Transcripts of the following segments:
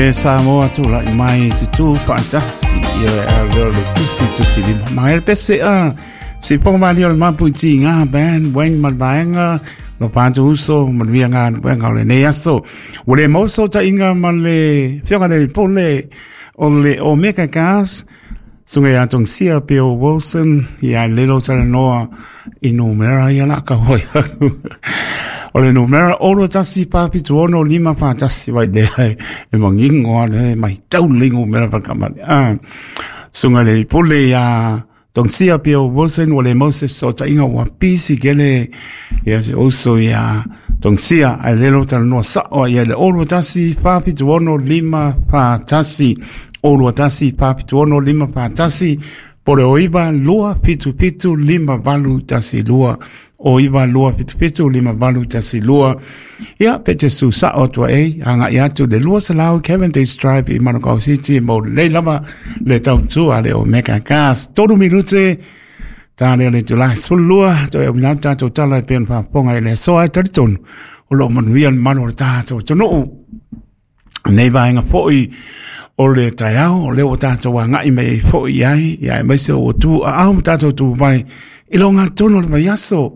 Le Samoa tulai mai tutū faatasi ia a leo le tusi tusi lima. Mai le pese a si ponga mali o le mapu i ti ngā band Wayne Malvaenga lo pātu uso manuia ngā wenga o le nei aso. Ua le mau fesootaiga ma le Afioga i le Pule o le Omega Gas Suga ia Tongsia Bill Wilson ia lelo talanoa i numera ia la ka hoi. O le numera 6 1 7 6 5 4 1 vai le e mangingo a le mai tau le numera pa kamani. Ah, suga le pule ia Tongsia Bill Wilson ua le mau se fesootaiga ua pisi kele ia se uso ia Tongsia ae lelo talanoa sa'o ia le 6 1 4 7 6 5 4 1 6 1 4 7 6 5 4 1 po le o 9 2 7 7 5 8 1 2 o 9 2 7 7 5 8 1 2. Ia pe te su sa'o atu ai aga'i atu le 200 Cavendish Drive i Manukau City mo lelei lava le tautua le Omega Gas. 3 minute ta lea le itulā 12 toe auina atu tatou tala e pei ona faafofoga i le asoa e talitonu o loo manuia le mamalu o le tatou atunuu nei vaega fo'i o le taeao o lea ua tatou aga'i mai ai fo'i i ai ia aemaise ua tu aao ma tatou tu mai i lo gatonu o le vaiaso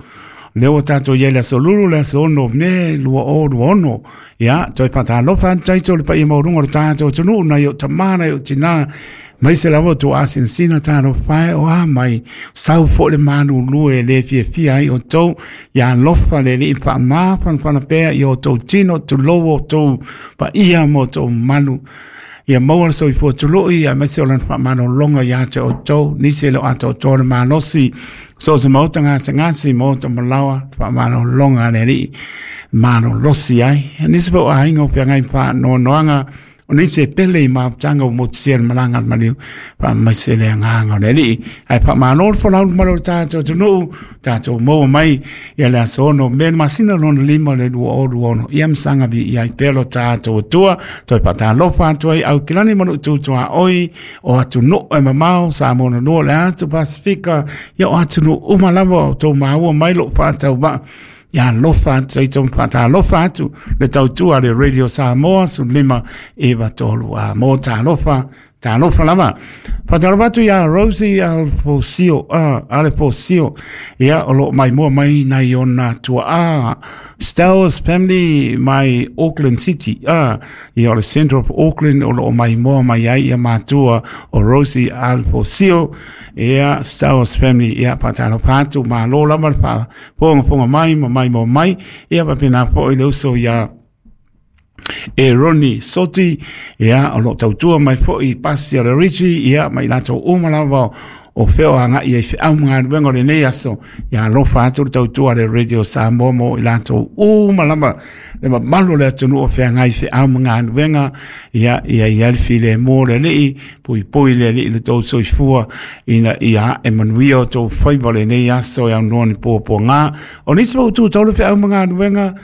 lea ua tatou i ai le aso Lulu le aso 6 Me 2026. Ia toe faatalofa atu taito le paia maualuga o le tatou atunuu nai o tamā nai o tinā mai se lava tou asinasina talofa e o a mai sau fo'i le malulu e le fiafia ai outou. Ia alofa le Alii faamafanafana pea i outou tino tulou outou paia ma outou mamalu ia maua le soifua tului aemaise o lana faamalologa ia te outou nisi e le o atoatoa le malosi so o se maota gasegase maota malaoa faamalologa a le Alii malolosi ai nisi foi o aiga o feagai faanoanoaga o nisi e pele i mafutaga ua motusia le malaga a le maliu faamaise le agaga o le Alii ae faamalo le folau le mamalu o le tatou atunuu tatou maua mai ia le aso 6 Me le masina lona lima le 2026 ia masaga viia ai pea lo tatou Atua. Toe faatalofa atu ai Aukilani ma loo tutuaoi o atunuu e mamao Samoa na lua le atu Pasifika ia o atunuu uma lava o tou maua mai loo faatauvaa ia alofa atu ai tou faatalofa atu le tautua le Radio Samoa 15 93 a mo talofa talofa lava. Faatalofa atu ia Rosie Alfosio, Alefosio, ia o loo maimoa mai nai ona tuaa Stowers Family mai Auckland City, ia o le Centre of Auckland o loo maimoa mai ai ia matua o Rosie Alfosio, ia Stowers Family. Ia faatalofa atu, malo lava le faafogafoga mai ma maimoa mai. Ia faapena foi le uso ia e Roni Soti, ia o loo tautua mai foi pasi o le Richie, ia mai latou uma lava o feo aga'i ai feau ma galuega o lenei aso. Ia alofa atu le tautua le Radio Samoa mo i latou uma lava le mamalu o le atunuu o feagai feau ma galuega. Ia ia ia le filemu o le Alii puipui le Alii le tou soifua ina ia ae manuia o tou faiva o lenei aso e aunoa ni puapuaga o nisi mau tu taulu feau ma galuega.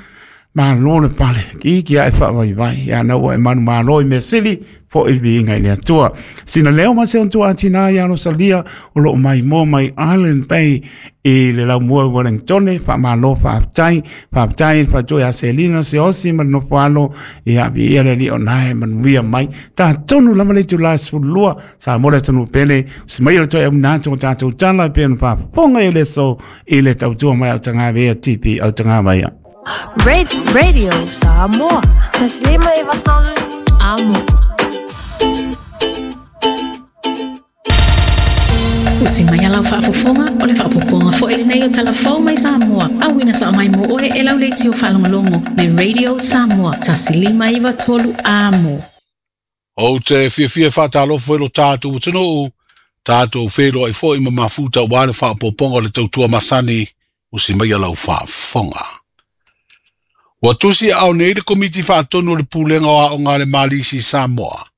Malo le pale, ki ki ae faavaivai, ia na ua e manu malo i mea sili, fo'i le viiga i le Atua. Sina leo ma se ontua atina ia Rosalia, o loo mai moa mai Island Bay i le laumua i Wellingtone, faamalo faafetai, faafetai le faatoe ia Selina Seosi ma le nofo alo, ia viia le Alii o nae manuia mai. Tatonu lava le itulā 12, Samoa le atunuu pele, si mai o le toe auina atu o tatou tala e pei ona faafofoga i le aso i le tautua mai a Autagavaia TP Autagavaia. Radio Samoa. 1593 Amo. Usi mai alau faafofoga o le faapopoga foi lenei o talafou mai Samoa. Auina sa mai mo oe e lau leitio faalogologo le Radio Samoa 1593 Amo. Ou te fiafia faatalofa i lo tatou atunuu, tatou feiloai foi ma mafuta aua le faaopoopoga o le tautua masani usi mai lau faafofoga. Ua tusi aao nei le Komiti Faatonu o le Pulega o Aoga a le Malisi Samoa.